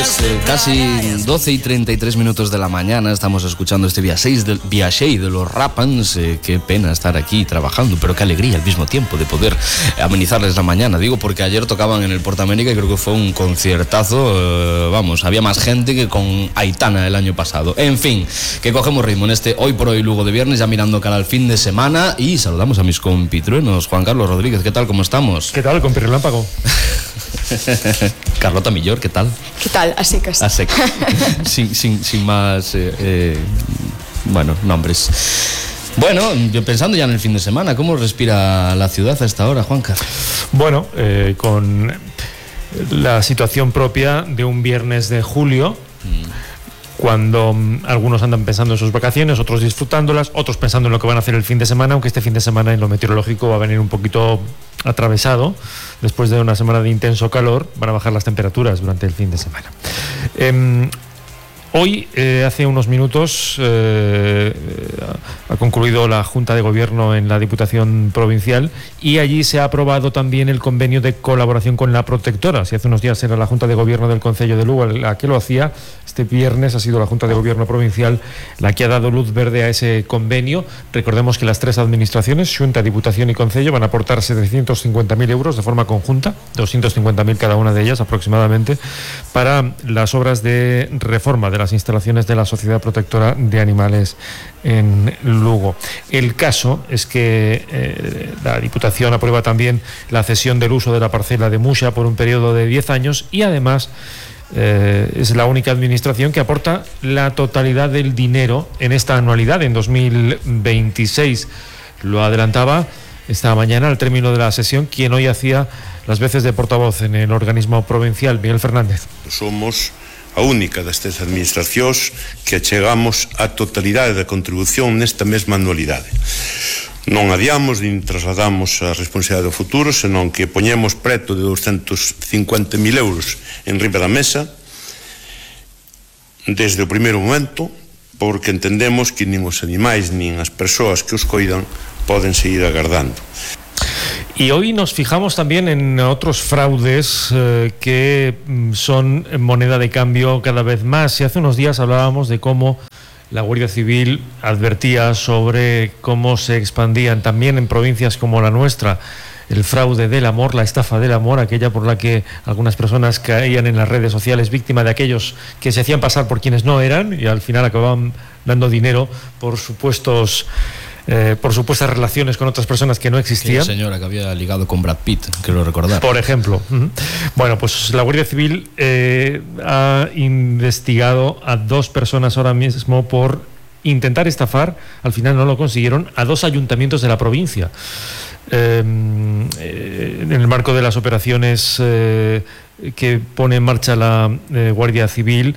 tardes, casi 12 y 33 minutos de la mañana. Estamos escuchando este Viaxei de los Rapans. Qué pena estar aquí trabajando, pero qué alegría al mismo tiempo de poder amenizarles la mañana. Digo porque ayer tocaban en el Portamérica y creo que fue un conciertazo. Vamos, había más gente que con Aitana el año pasado. En fin, que cogemos ritmo en este Hoy por Hoy Lugo de viernes, ya mirando cara al fin de semana, y saludamos a mis compitruenos. Juan Carlos Rodríguez, ¿qué tal? ¿Cómo estamos? ¿Qué tal, compi relámpago? Carlota Millor, ¿qué tal? ¿Qué tal? A secas. A secas. sin más, bueno, nombres. Bueno, pensando ya en el fin de semana, ¿cómo respira la ciudad a esta hora, Juanca? Bueno, con la situación propia de un viernes de julio, cuando algunos andan pensando en sus vacaciones, otros disfrutándolas, otros pensando en lo que van a hacer el fin de semana, aunque este fin de semana en lo meteorológico va a venir un poquito atravesado. Después de una semana de intenso calor, van a bajar las temperaturas durante el fin de semana. Hoy, hace unos minutos, ha concluido la Junta de Gobierno en la Diputación Provincial y allí se ha aprobado también el convenio de colaboración con la Protectora. Si hace unos días era la Junta de Gobierno del Concello de Lugo la que lo hacía, este viernes ha sido la Junta de Gobierno Provincial la que ha dado luz verde a ese convenio. Recordemos que las tres administraciones, Xunta, Diputación y Concello, van a aportar 750.000 euros de forma conjunta, 250.000 cada una de ellas aproximadamente, para las obras de reforma de las instalaciones de la Sociedad Protectora de Animales en Lugo. El caso es que la Diputación aprueba también la cesión del uso de la parcela de Muxa por un periodo de 10 años y además es la única administración que aporta la totalidad del dinero en esta anualidad, en 2026. Lo adelantaba esta mañana al término de la sesión quien hoy hacía las veces de portavoz en el organismo provincial, Miguel Fernández. Somos a única das tres administracións que achegamos a totalidade da contribución nesta mesma anualidade. Non adiamos nin trasladamos a responsabilidade do futuro, senón que poñemos preto de 250.000 euros en riba da mesa desde o primeiro momento, porque entendemos que nin os animais nin as persoas que os coidan poden seguir agardando. Y hoy nos fijamos también en otros fraudes que son moneda de cambio cada vez más. Y hace unos días hablábamos de cómo la Guardia Civil advertía sobre cómo se expandían también en provincias como la nuestra el fraude del amor, la estafa del amor, aquella por la que algunas personas caían en las redes sociales víctima de aquellos que se hacían pasar por quienes no eran y al final acababan dando dinero por supuestas relaciones con otras personas que no existían. La señora que había ligado con Brad Pitt, quiero recordar. Por ejemplo. Bueno, pues la Guardia Civil ha investigado a 2 personas ahora mismo por intentar estafar, al final no lo consiguieron, a 2 ayuntamientos de la provincia. En el marco de las operaciones que pone en marcha la Guardia Civil,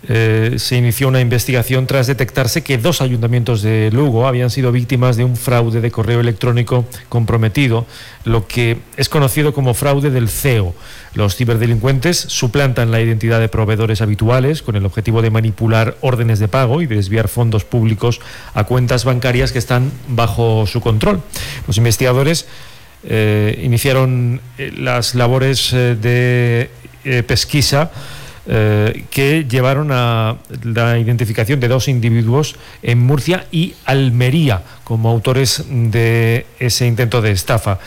se inició una investigación tras detectarse que 2 ayuntamientos de Lugo habían sido víctimas de un fraude de correo electrónico comprometido, lo que es conocido como fraude del CEO. Los ciberdelincuentes suplantan la identidad de proveedores habituales con el objetivo de manipular órdenes de pago y de desviar fondos públicos a cuentas bancarias que están bajo su control. Los investigadores iniciaron las labores de pesquisa que llevaron a la identificación de 2 individuos en Murcia y Almería como autores de ese intento de estafa.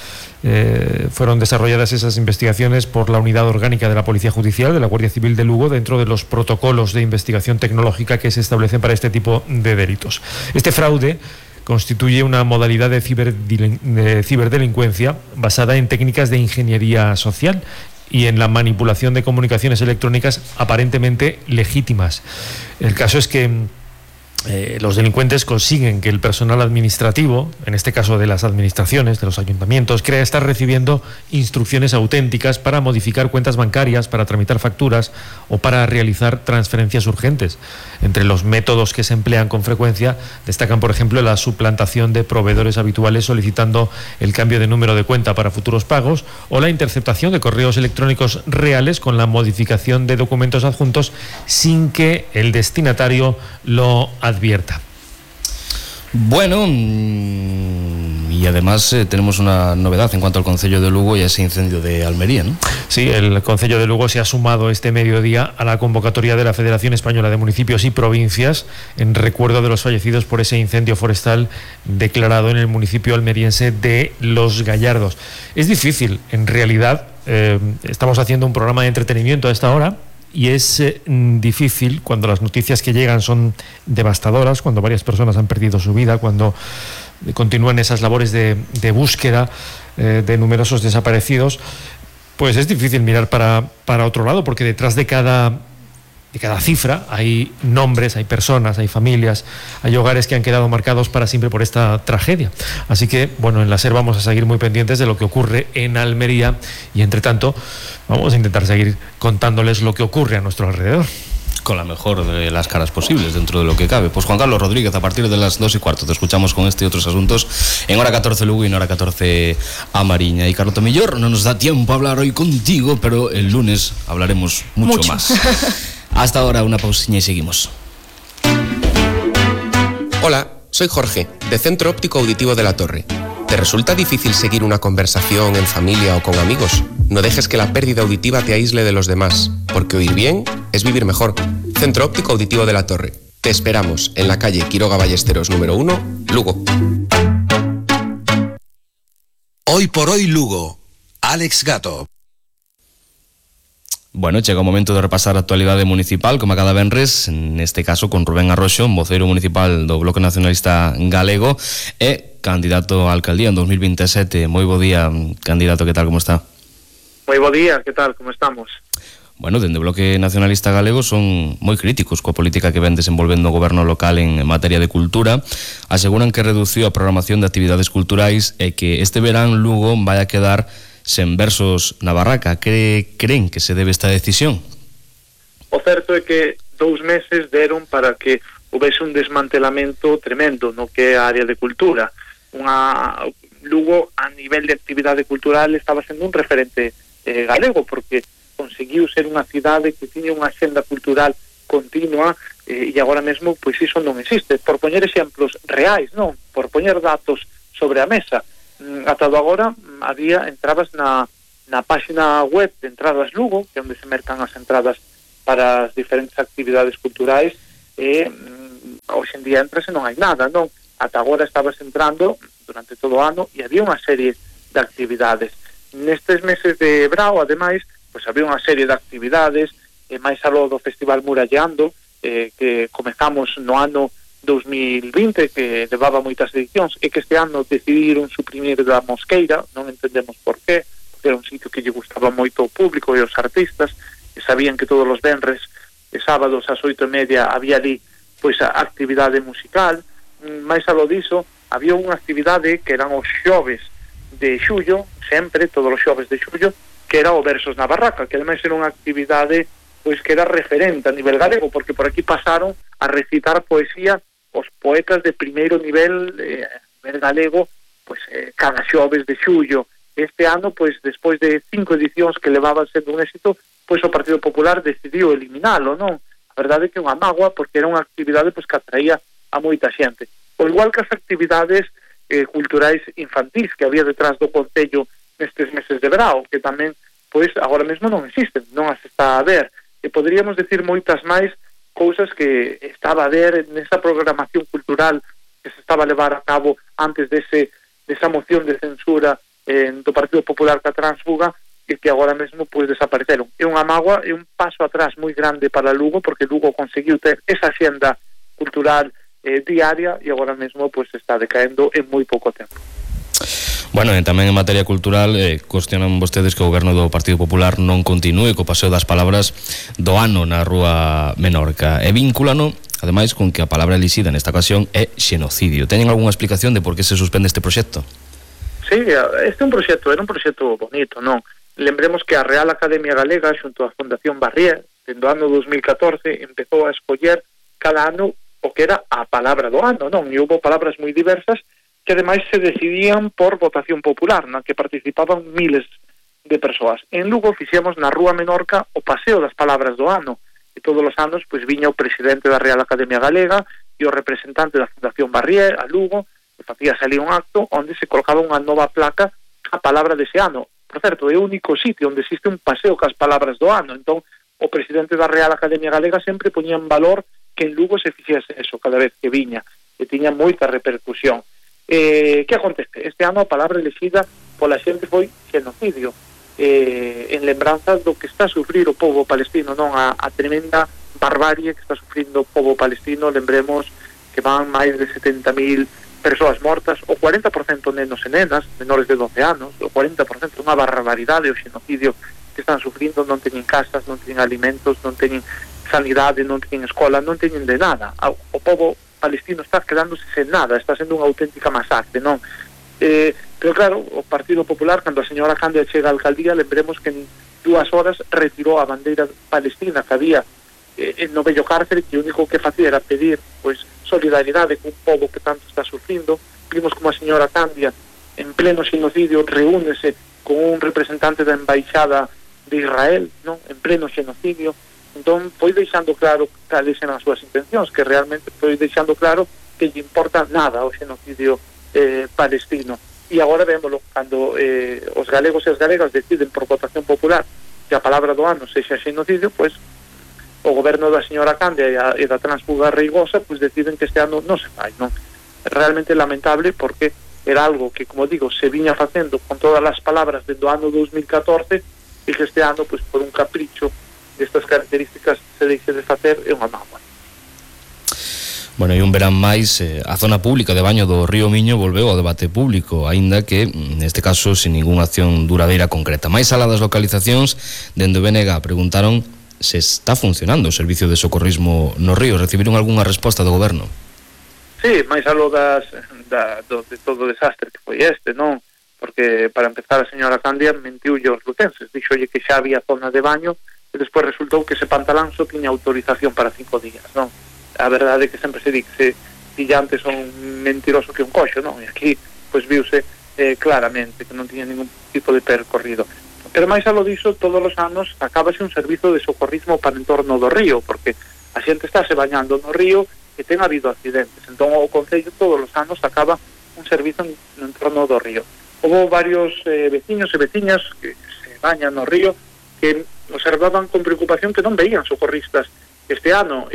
Fueron desarrolladas esas investigaciones por la Unidad Orgánica de la Policía Judicial de la Guardia Civil de Lugo dentro de los protocolos de investigación tecnológica que se establecen para este tipo de delitos. Este fraude constituye una modalidad de ciberdelincuencia basada en técnicas de ingeniería social y en la manipulación de comunicaciones electrónicas aparentemente legítimas. El caso es que los delincuentes consiguen que el personal administrativo, en este caso de las administraciones, de los ayuntamientos, crea estar recibiendo instrucciones auténticas para modificar cuentas bancarias, para tramitar facturas o para realizar transferencias urgentes. Entre los métodos que se emplean con frecuencia destacan, por ejemplo, la suplantación de proveedores habituales solicitando el cambio de número de cuenta para futuros pagos o la interceptación de correos electrónicos reales con la modificación de documentos adjuntos sin que el destinatario lo advierta. Bueno, Y además tenemos una novedad en cuanto al Concello de Lugo y a ese incendio de Almería, ¿no? Sí, el Concello de Lugo se ha sumado este mediodía a la convocatoria de la Federación Española de Municipios y Provincias en recuerdo de los fallecidos por ese incendio forestal declarado en el municipio almeriense de Los Gallardos. Es difícil, en realidad, estamos haciendo un programa de entretenimiento a esta hora, y es difícil cuando las noticias que llegan son devastadoras, cuando varias personas han perdido su vida, cuando continúan esas labores de búsqueda de numerosos desaparecidos, pues es difícil mirar para otro lado, porque detrás de cada cifra hay nombres, hay personas, hay familias, hay hogares que han quedado marcados para siempre por esta tragedia. Así que, bueno, en la SER vamos a seguir muy pendientes de lo que ocurre en Almería y, entre tanto, vamos a intentar seguir contándoles lo que ocurre a nuestro alrededor. Con la mejor de las caras posibles dentro de lo que cabe. Pues Juan Carlos Rodríguez, a partir de las 2:15 te escuchamos con este y otros asuntos en hora 14 Lugo y en hora 14 a Mariña. Y Carlota Millor, no nos da tiempo a hablar hoy contigo, pero el lunes hablaremos mucho más. Hasta ahora, una pausinha y seguimos. Hola, soy Jorge, de Centro Óptico Auditivo de la Torre. ¿Te resulta difícil seguir una conversación en familia o con amigos? No dejes que la pérdida auditiva te aísle de los demás, porque oír bien es vivir mejor. Centro Óptico Auditivo de la Torre. Te esperamos en la calle Quiroga Ballesteros número 1, Lugo. Hoy por hoy Lugo. Alex Gato. Bueno, chega o momento de repasar a actualidade municipal, como a cada venres, neste caso con Rubén Arroxo, voceiro municipal do Bloque Nacionalista Galego e candidato a alcaldía en 2027. Moi bo día, candidato, que tal, como está? Moi bo día, que tal, como estamos? Bueno, dende o Bloque Nacionalista Galego son moi críticos coa política que ven desenvolvendo o goberno local en materia de cultura. Aseguran que reduciu a programación de actividades culturais e que este verán Lugo vai a quedar sen versos na barraca. Creen que se debe esta decisión? O certo é que 2 meses deron para que houvese un desmantelamento tremendo no que é a área de cultura. Lugo, a nivel de actividade cultural, estaba sendo un referente galego, porque conseguiu ser unha cidade que tiña unha axenda cultural continua, e agora mesmo, pois iso non existe. Por poñer exemplos reais, non? Por poñer datos sobre a mesa, ata do agora entrabas na página web de Entradas Lugo, que é onde se mercan as entradas para as diferentes actividades culturais, e hoxe en día entras e non hai nada, non? Ata agora estabas entrando durante todo o ano e había unha serie de actividades. Nestes meses de brao, ademais, pois había unha serie de actividades, máis aló do Festival Murallando, que comezamos no ano 2020, que levaba moitas edicións, e que este ano decidiron suprimir da Mosqueira, non entendemos por qué, porque era un sitio que lle gustaba moito ao público e aos artistas, e sabían que todos os venres e sábados ás 8:30 había ali pois a actividade musical. Máis aló diso, había unha actividade que eran os xoves de xullo, sempre, todos os xoves de xullo, que era o Versos na Barraca, que ademais era unha actividade pois que era referente a nivel galego, porque por aquí pasaron a recitar poesía os poetas de primeiro nivel galego, pois cada xoves de xullo. Este ano, pois despois de 5 edicións que levaban sendo un éxito, pois o Partido Popular decidiu eliminalo, non? A verdade é que é unha mágoa, porque era unha actividade pois que atraía a moita xente. O igual que as actividades culturais infantís que había detrás do Concello nestes meses de verao, que tamén, pois, agora mesmo non existen, non as está a ver. E poderíamos decir moitas máis cousas que estaba a ver nesa programación cultural que se estaba a levar a cabo antes desa moción de censura do Partido Popular ca Transfuga, e que agora mesmo pois desapareceron. É unha mágoa, é un paso atrás moi grande para Lugo, porque Lugo conseguiu ter esa xenda cultural diaria e agora mesmo pois está decaendo en moi pouco tempo. Bueno, e tamén en materia cultural cuestionan vostedes que o goberno do Partido Popular non continúe co paseo das palabras do ano na Rúa Menorca e vínculano, ademais, con que a palabra elixida nesta ocasión é xenocidio. Teñen algunha explicación de por que se suspende este proxecto? Sí, este era un proxecto bonito, non? Lembremos que a Real Academia Galega xunto á Fundación Barrié, dentro do ano 2014, empezou a escoller cada ano o que era a palabra do ano, non? E houve palabras moi diversas que ademais se decidían por votación popular, na que participaban miles de persoas. En Lugo fixemos na Rúa Menorca o paseo das palabras do ano, e todos os anos pois viña o presidente da Real Academia Galega e o representante da Fundación Barrié a Lugo, facía salir un acto onde se colocaba unha nova placa a palabra dese ano. Por certo, é o único sitio onde existe un paseo cas palabras do ano. Entón, o presidente da Real Academia Galega sempre poñía en valor que en Lugo se fixese eso cada vez que viña, e tiña moita repercusión. Que acontece? Este ano a palabra elexida pola xente foi xenocidio, en lembranza do que está a sufrir o povo palestino, non a tremenda barbarie que está sufrindo o povo palestino. Lembremos que van máis de 70.000 persoas mortas, o 40% nenos e nenas, menores de 12 anos, o 40%, unha barbaridade o xenocidio que están sufrindo. Non teñen casas, non teñen alimentos, non teñen sanidade, non teñen escola, non teñen de nada. O povo palestino está quedándose sen nada, está sendo unha auténtica masacre, non? Pero claro, o Partido Popular, cando a señora Candia chega á alcaldía, lembremos que en 2 horas retirou a bandeira palestina que había no vello cárcere, que o único que facía era pedir pois solidaridade con un povo que tanto está sufrindo. Vimos como a señora Candia, en pleno xenocidio, reúnese con un representante da embaixada de Israel, non? En pleno xenocidio. Entón, foi deixando claro cales eran as súas intencións, que realmente foi deixando claro que lle importa nada o xenocidio palestino. E agora vémolo, cando os galegos e as galegas deciden por votación popular que a palabra do ano sexa xenocidio, pois o goberno da señora Candia e da transfuga Reigosa pois deciden que este ano non se fai, non? Realmente lamentable, porque era algo que, como digo, se viña facendo con todas as palabras desde o ano 2014, e que este ano, pois por un capricho destas características se deixe de facer, é unha mágoa. Bueno, e un verán máis, a zona pública de baño do Río Miño volveu ao debate público, aínda que, neste caso, sin ningunha acción duradeira concreta. Máis alá das localizacións, dende o BNG preguntaron se está funcionando o servicio de socorrismo no río. Recibiron algunha resposta do goberno? Sí, máis aló de todo o desastre que foi este, non? Porque, para empezar, a señora Candia mentiulle aos lutenses, dixolle que xa había zona de baño, e despois resultou que ese pantalán só tiña autorización para 5 días, non? A verdade é que sempre se di que se pillantes son mentiroso que un coxo, non? E aquí, pois, viuse claramente que non tiña ningún tipo de percorrido. Pero máis aló diso, todos os anos acábase un servizo de socorrismo para entorno do río, porque a xente está se bañando no río e ten habido accidentes. Entón, o Concello todos os anos acaba un servizo no entorno do río. Houve varios veciños e veciñas que se bañan no río que observaban con preocupación que non veían socorristas este ano,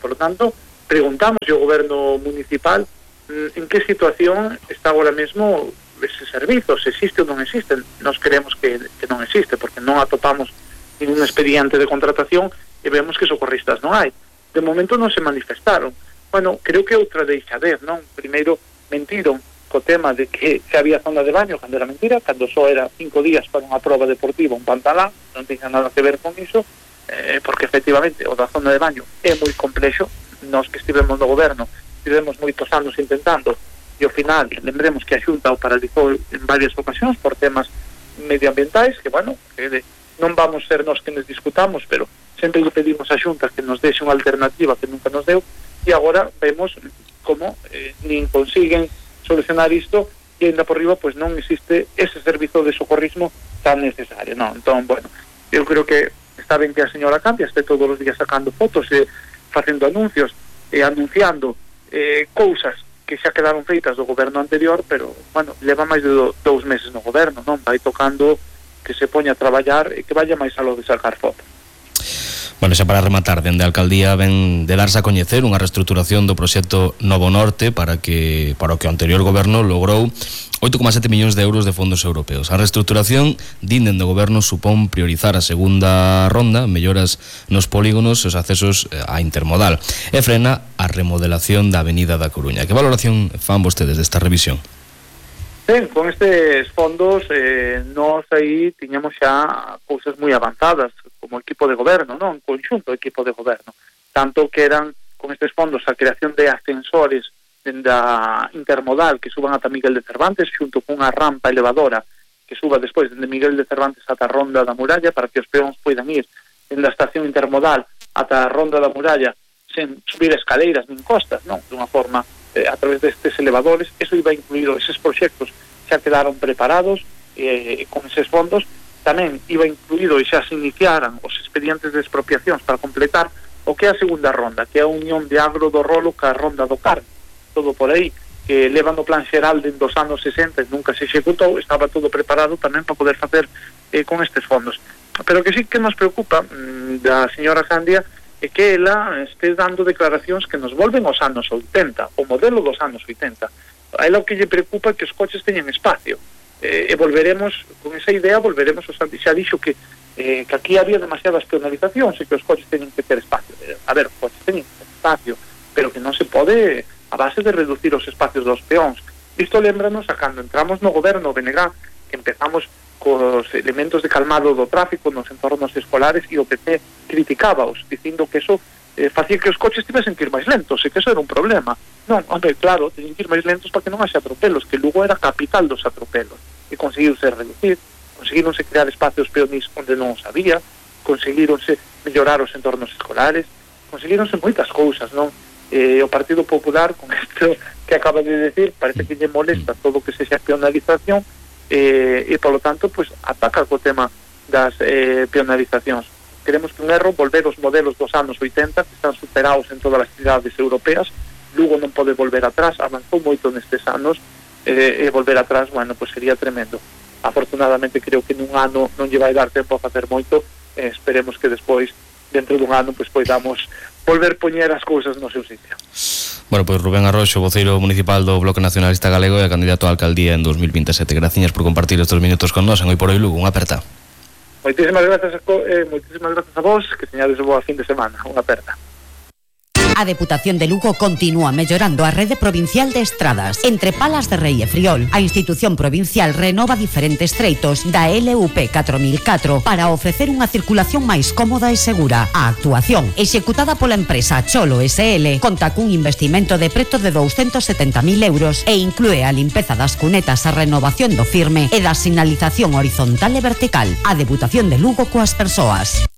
por lo tanto preguntamos ao goberno municipal en que situación está agora mesmo ese servizo, se existe ou non existe. Nos creemos que non existe, porque non atopamos ningún expediente de contratación e vemos que socorristas non hai. De momento non se manifestaron. Bueno, creo que outra deixadez, non? Primeiro mentiron co tema de que había zona de baño, cando era mentira, cando só era 5 días para unha proba deportiva, un pantalán, non tiña nada que ver con iso, porque efectivamente o da zona de baño é moi complexo. Nós que estivemos no goberno estivemos moitos anos intentando, e ao final lembremos que a Xunta o paralizou en varias ocasións por temas medioambientais, que bueno, que non vamos ser nós que nos discutamos, pero sempre lle pedimos a Xunta que nos deixe unha alternativa que nunca nos deu, e agora vemos como nin consiguen solucionar isto, e ainda por riba pois non existe ese servizo de socorrismo tan necesario, non? Entón, bueno, eu creo que está ben que a señora Candia este todos os días sacando fotos e facendo anuncios e anunciando cousas que xa quedaron feitas do goberno anterior, pero, bueno, leva máis de 2 meses no goberno, non? Vai tocando que se poña a traballar e que vaya máis aló de sacar fotos. Bueno, xa para rematar, dende a alcaldía ven de darse a coñecer unha reestruturación do proxecto Novo Norte para o que o anterior goberno logrou 8,7 millóns de euros de fondos europeos. A reestruturación, din dende o goberno, supón priorizar a segunda ronda, melloras nos polígonos e os accesos á intermodal, e frena a remodelación da Avenida da Coruña. Que valoración fan vostedes desta revisión? Ben, con estes fondos nós aí tiñamos xa cousas moi avanzadas como equipo de goberno, non? En conxunto equipo de goberno, tanto que eran con estes fondos a creación de ascensores da intermodal que suban ata Miguel de Cervantes, xunto cunha rampa elevadora que suba despois dende Miguel de Cervantes ata a Ronda da Muralla, para que os peóns poidan ir dende a estación intermodal ata a Ronda da Muralla sen subir escaleiras nin costas, non? De unha forma a través destes elevadores. Eso iba incluído, eses proxectos xa quedaron preparados con eses fondos. Tamén iba incluído e xa se iniciaran os expedientes de expropiacións para completar o que é a segunda ronda, que é a unión de Agro do Rolo ca Ronda do Carme, todo por aí. que leva no plan xeral dentro dos anos 60 e nunca se executou, estaba todo preparado tamén para poder facer con estes fondos. Pero que sí que nos preocupa da señora Candia é que ela este dando declaracións que nos volven aos anos 80, o modelo dos anos 80. A ela o que lle preocupa é que os coches teñan espacio. E volveremos, con esa idea, volveremos xa dixo que aquí había demasiadas penalizacións e que os coches teñen que ter espacio. A ver, os coches teñen que ter espacio, pero que non se pode a base de reducir os espacios dos peóns. Isto lembranos a cando entramos no goberno BNG, que empezamos cos elementos de calmado do tráfico nos entornos escolares e o PP criticábaos, dicindo que eso facía que os coches tivesen que ir máis lentos e que eso era un problema. Non, hombre, claro, teñen que ir máis lentos para que non haxe atropelos, que Lugo era capital dos atropelos, e conseguiuse reducir, conseguironse crear espacios peonís onde non os había, conseguironse mellorar os entornos escolares, conseguironse moitas cousas, non? O Partido Popular, con isto que acaba de decir, parece que lle molesta todo o que sexa peonalización e, polo tanto, pues, ataca co tema das peonalizacións. Queremos que un erro volver os modelos dos anos 80 que están superados en todas as cidades europeas. Lugo non pode volver atrás, avanzou moito nestes anos e volver atrás, bueno, pues sería tremendo. Afortunadamente creo que nun ano non lle vai dar tempo a facer moito, esperemos que despois, dentro dun ano, pues poidamos volver poñer as cousas no seu sitio. Bueno, pois Rubén Arroxo, voceiro municipal do Bloque Nacionalista Galego e candidato a alcaldía en 2027. Graciñas por compartir estes minutos con nós en Hoy por Hoy Lugo. Unha aperta. Moitísimas grazas a vos, que teñades boa fin de semana. Unha aperta. A Deputación de Lugo continúa mellorando a rede provincial de estradas. Entre Palas de Rei e Friol, a institución provincial renova diferentes treitos da LUP 4004 para ofrecer unha circulación máis cómoda e segura. A actuación, executada pola empresa Cholo SL, conta cun investimento de preto de 270.000 euros e inclúe a limpeza das cunetas, a renovación do firme e da sinalización horizontal e vertical. A Deputación de Lugo coas persoas.